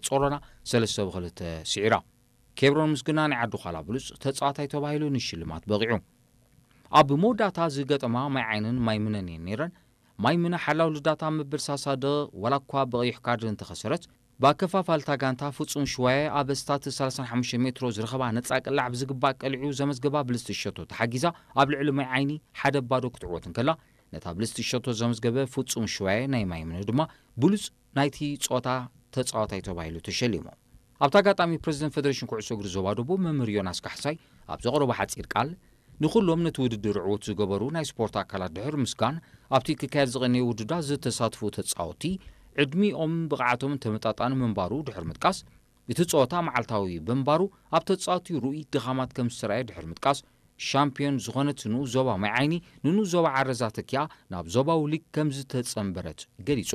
ጾሮና ሰለስተ ብክልተ ስዒራ። ኬብሮን ምስግና ናይ ዓዲ ዃላ ብሉጽ ተጻዋታይ ተባሂሉ ንሽልማት በቒዑ። ኣብ መወዳእታ ዝገጠማ ማይ ዓይንን ማይ ምነን እየን ነይረን። ማይ ምነ ሓላው ልዳታ መበል ሳሳ ደቂቕ ዋላ እኳ ብቐይሕ ካርድ እንተኸሰረት፣ ብኣከፋፋልታ ጋንታ ፍጹም ሽዋየ ኣብ ስታት ሰላሳን ሓሙሽተ ሜትሮ ዝረኸባ ነጻ ቅላዕ ብዝግባእ ቀሊዑ ዘመዝገባ ብልጽቲ ሸቶ ተሓጊዛ ኣብ ልዕሊ ማይ ዓይኒ ሓደ ባዶ ክትዕወት እንከላ፣ ነታ ብልጽቲ ሸቶ ዘመዝገበ ፍጹም ሽዋየ ናይ ማይ ምነ ድማ ብሉጽ ናይቲ ጸወታ ተጻዋታይ ተባሂሉ ተሸሊሙ። ኣብቲ ኣጋጣሚ ፕረዚደንት ፌደሬሽን ኩዕሶ እግሪ ዞባ ደቡብ መምህር ዮናስ ካሕሳይ ኣብ ዘቕረቦ ሓጺር ቃል፣ ንኹሎም ነቲ ውድድር ዕዉት ዝገበሩ ናይ ስፖርት ኣካላት ድሕሪ ምስጋን፣ ኣብቲ ክካየድ ዝቐነየ ውድድራት ዝተሳትፉ ተጻወትቲ ዕድሚኦም ብቕዓቶም ተመጣጣኒ ምንባሩ ድሕሪ ምጥቃስ፣ እቲ ጸወታ መዓልታዊ ብምንባሩ ኣብ ተጻወትቲ ርኡይ ድኻማት ከም ዝተራእየ ድሕሪ ምጥቃስ፣ ሻምፒዮን ዝኾነት ንኡስ ዞባ ማይ ዓይኒ ንንኡስ ዞባ ዓረዛ ተኪኣ ናብ ዞባዊ ሊግ ከም ዝተጸንበረት ገሊጹ።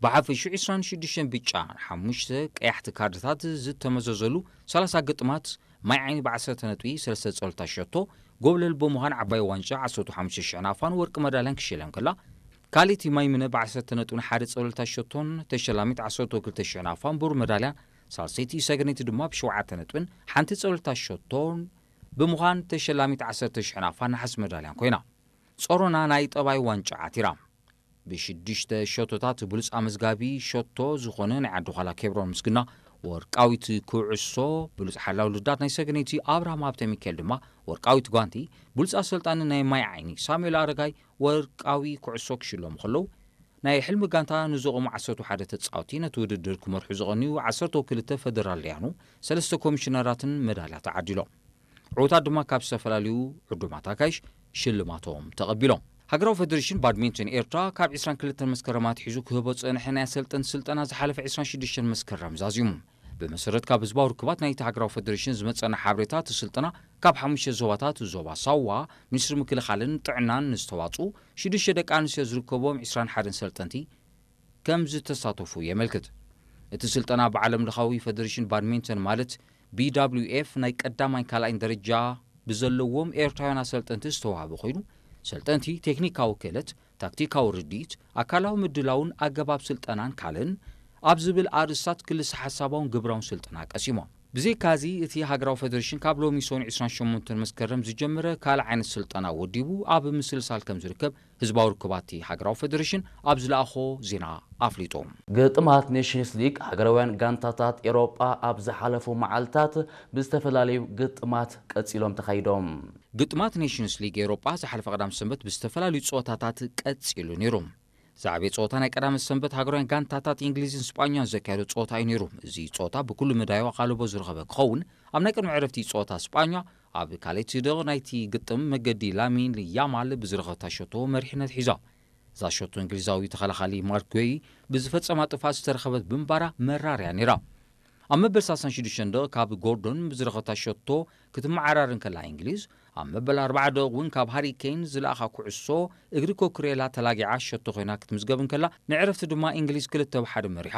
ብሓፈሽኡ ዕስራን ሽዱሽተን ብጫ፣ ሓሙሽተ ቀያሕቲ ካርድታት ዝተመዘዘሉ ሰላሳ ግጥማት ማይ ዓይኒ ብዓሰርተ ነጥቢ ሰለስተ ጸወታ ሸቶ ጎብለል ብምዃን ዓባይ ዋንጫ ዓሰርተ ሓሙሽተ ሽሕ ናፋን ወርቂ መዳልያን ክሽለም ከላ፣ ካልእቲ ማይ ምነ ብዓሰርተ ነጥብን ሓደ ጸወታ ሸቶን ተሸላሚት ዓሰርተ ክልተ ሽሕ ናፋን ብሩር መዳልያን፣ ሳልሰይቲ ሰገነይቲ ድማ ብሸውዓተ ነጥብን ሓንቲ ጸወታ ሸቶን ብምዃን ተሸላሚት ዓሰርተ ሽሕ ናፋን ነሓስ መዳልያን ኮይና። ጾሮና ናይ ጠባይ ዋንጫ ዓቲራ። ብሽዱሽተ ሸቶታት ብሉጽ ኣመዝጋቢ ሸቶ ዝኾነ ናይ ዓዲ ዃላ ኬብሮን ምስግና ወርቃዊት ኩዕሶ፣ ብሉጽ ሓላው ልዳት ናይ ሰገነይቲ ኣብርሃም ሃብተ ሚካኤል ድማ ወርቃዊት ጓንቲ፣ ብሉጽ ኣሰልጣኒ ናይ ማይ ዓይኒ ሳሙኤል ኣረጋይ ወርቃዊ ኩዕሶ ክሽለሙ ከለዉ፣ ናይ ሕልሚ ጋንታ ንዘቐሙ ዓሰርተ ሓደ ተጻወቲ ነቲ ውድድር ክመርሑ ዝቐንዩ ዓሰርተ ክልተ ፈደራልያኑ ሰለስተ ኮሚሽነራትን መዳልያ ተዓዲሎም። ዕዉታት ድማ ካብ ዝተፈላለዩ ዕዱማት ኣጋይሽ ሽልማቶም ተቐቢሎም። ሃገራዊ ፈደሬሽን ባድሚንተን ኤርትራ ካብ ዕስራን ክልተን መስከረም ኣትሒዙ ክህቦ ዝጸንሐ ናይ ኣሰልጠንቲ ስልጠና ዝሓለፈ ዕስራን ሽዱሽተን መስከረም ዛዚሙ። ብመሰረት ካብ ህዝባዊ ርክባት ናይቲ ሃገራዊ ፈደሬሽን ዝመጸና ሓበሬታ፣ እቲ ስልጠና ካብ ሓሙሽተ ዞባታት፣ ዞባ ሳዋ፣ ሚኒስትሪ ምክልኻልን ጥዕናን ንዝተዋጽኡ ሽዱሽተ ደቂ ኣንስትዮ ዝርከቦም ዕስራን ሓደን ሰልጠንቲ ከም ዝተሳተፉ የመልክት። እቲ ስልጠና ብዓለም ለኻዊ ፈደሬሽን ባድሚንተን ማለት ቢ ደብሊው ኤፍ ናይ ቀዳማይ ካልኣይን ደረጃ ብዘለዎም ኤርትራውያን ኣሰልጠንቲ ዝተዋህበ ኮይኑ፣ ሰልጠንቲ ቴክኒካዊ ክእለት፣ ታክቲካዊ ርድኢት፣ ኣካላዊ ምድላውን ኣገባብ ስልጠናን ካልእን ኣብ ዝብል ኣርእስታት ክልሰ ሓሳባውን ግብራውን ስልጠና ቀሲሞም። ብዘይካዚ፣ እቲ ሃገራዊ ፈደሬሽን ካብ ሎሚ ሰኑይ ዕስራን ሸሞንተን መስከረም ዝጀመረ ካልእ ዓይነት ስልጠና ወዲቡ ኣብ ምስልሳል ከም ዝርከብ ህዝባዊ ርክባት ሃገራዊ ፈደሬሽን ኣብ ዝለኣኾ ዜና ኣፍሊጡ። ግጥማት ኔሽንስ ሊግ ሃገራውያን ጋንታታት ኤውሮጳ ኣብ ዝሓለፉ መዓልታት ብዝተፈላለዩ ግጥማት ቀጺሎም ተኻይዶም። ግጥማት ኔሽንስ ሊግ ኤውሮጳ ዝሓለፈ ቀዳም ሰንበት ብዝተፈላለዩ ጸወታታት ቀጺሉ ነይሩ። ዝዓበየ ጸወታ ናይ ቀዳመ ሰንበት ሃገራውያን ጋንታታት እንግሊዝን ስጳኛን ዘካየዶ ጸወታ እዩ ነይሩ። እዚ ጸወታ ብኩሉ መዳያዊ ኣቓልቦ ዝረኸበ ክኸውን፣ ኣብ ናይ ቅድሚ ዕረፍቲ ጸወታ ስጳኛ ኣብ ካልኣይቲ ደቂቕ ናይቲ ግጥም መገዲ ላሚን ያማል ብዝረኸበታ ሸቶ መሪሕነት ሒዛ። እዛ ሸቶ እንግሊዛዊ ተኸላኻሊ ማርክ ጉዌይ ብዝፈጸማ ጥፍኣት ዝተረኸበት ብምንባራ መራር እያ ነይራ። ኣብ መበል ሰላሳን ሽዱሽተን ደቂቕ ካብ ጎርዶን ብዝረኸበታ ሸቶ ክትመዓራር እንከላ እንግሊዝ፣ ኣብ መበል ኣርባዓ ደቂቕ እውን ካብ ሃሪ ኬን ዝለኣኻ ኩዕሶ እግሪ ኮኩሬላ ተላጊዓ ሸቶ ኮይና ክትምዝገብ እንከላ፣ ንዕረፍቲ ድማ እንግሊዝ ክልተ ብ ሓደ መሪሓ።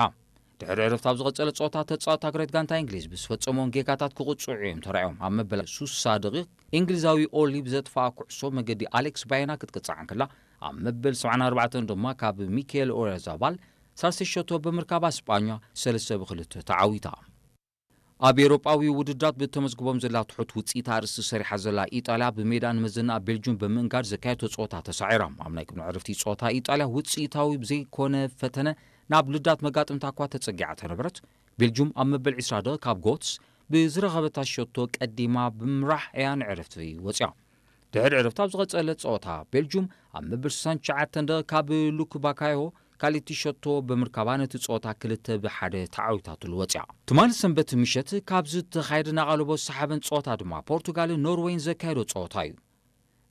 ድሕሪ ዕረፍቲ ኣብ ዝቐጸለ ጸወታ ተጻወቲ ሃገራዊት ጋንታ እንግሊዝ ብዝፈጸምዎም ጌጋታት ክቕጽዑ እዮም ተራእዮም። ኣብ መበል ሱሳ ደቂቕ እንግሊዛዊ ኦሊ ብዘጥፍኣ ኩዕሶ መገዲ ኣሌክስ ባየና ክትቅጻዕ እንከላ፣ ኣብ መበል ሰብዓን ኣርባዕተን ድማ ካብ ሚካኤል ኦያርዛባል ሳልሰይ ሸቶ ብምርካባ ስጳኛ ሰለስተ ብ ክልተ ተዓዊታ። ኣብ ኤውሮጳዊ ውድድራት ብተመዝግቦም ዘላ ትሑት ውጽኢት ኣርእስቲ ሰሪሓ ዘላ ኢጣልያ ብሜዳ ንመዘናኣ ቤልጁም ብምእንጋድ ዘካየቶ ጸወታ ተሳዒራ። ኣብ ናይ ቅድሚ ዕረፍቲ ጸወታ ኢጣልያ ውጽኢታዊ ብዘይኮነ ፈተነ ናብ ልዳት መጋጥምታ እኳ ተጸጊዓ ተነበረት። ቤልጁም ኣብ መበል ዕስራ ደቂቕ ካብ ጎትስ ብዝረኸበታ ሸቶ ቀዲማ ብምምራሕ እያ ንዕረፍቲ ወጽያ። ድሕሪ ዕረፍቲ ኣብ ዝቐጸለ ጸወታ ቤልጁም ኣብ መበል ስሳን ትሽዓተን ደቂቕ ካብ ሉክ ባካዮ ካልእቲ ሸቶ ብምርካባ ነቲ ጸወታ ክልተ ብ ሓደ ተዓዊታትሉ ወጽያ። ትማሊ ሰንበት ምሸት ካብ ዝተኻየደ ናቓልቦ ዝሰሓበን ጸወታ ድማ ፖርቱጋልን ኖርወይን ዘካየዶ ጸወታ እዩ።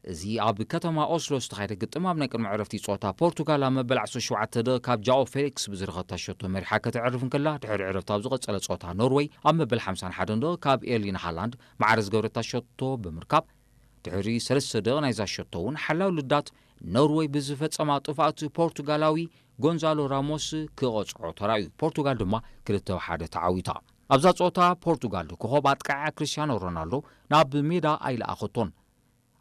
እዚ ኣብ ከተማ ኦስሎ ዝተኻየደ ግጥም ኣብ ናይ ቅድሚ ዕረፍቲ ጸወታ ፖርቱጋል ኣብ መበል ዓሰርተ ሸውዓተ ደቂቕ ካብ ጃኦ ፌሊክስ ብዝረኸታ ሸቶ መሪሓ ከተዕርፍ እንከላ፣ ድሕሪ ዕረፍቲ ኣብ ዝቐጸለ ጸወታ ኖርወይ ኣብ መበል ሓምሳን ሓደን ደቂቕ ካብ ኤርሊን ሃላንድ ማዕረ ዝገበረታ ሸቶ ብምርካብ፣ ድሕሪ ሰለስተ ደቂቕ ናይዛ ሸቶ እውን ሓላው ልዳት ኖርወይ ብዝፈጸማ ጥፍኣት ፖርቱጋላዊ ጎንዛሎ ራሞስ ክቐጽዖ ተራእዩ። ፖርቱጋል ድማ ክልተ ብ ሓደ ተዓዊታ። ኣብዛ ጸወታ ፖርቱጋል ኮኾብ ኣጥቃዓ ክርስቲያኖ ሮናልዶ ናብ ሜዳ ኣይለኣኸቶን።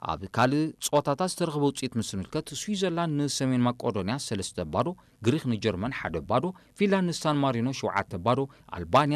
ኣብ ካልእ ጸወታታት ዝተረኽበ ውጽኢት ምስ ንምልከት፣ ስዊዘርላንድ ንሰሜን ማቄዶንያ ሰለስተ ባዶ፣ ግሪኽ ንጀርመን ሓደ ባዶ፣ ፊንላንድ ንሳን ማሪኖ ሸውዓተ ባዶ፣ ኣልባንያ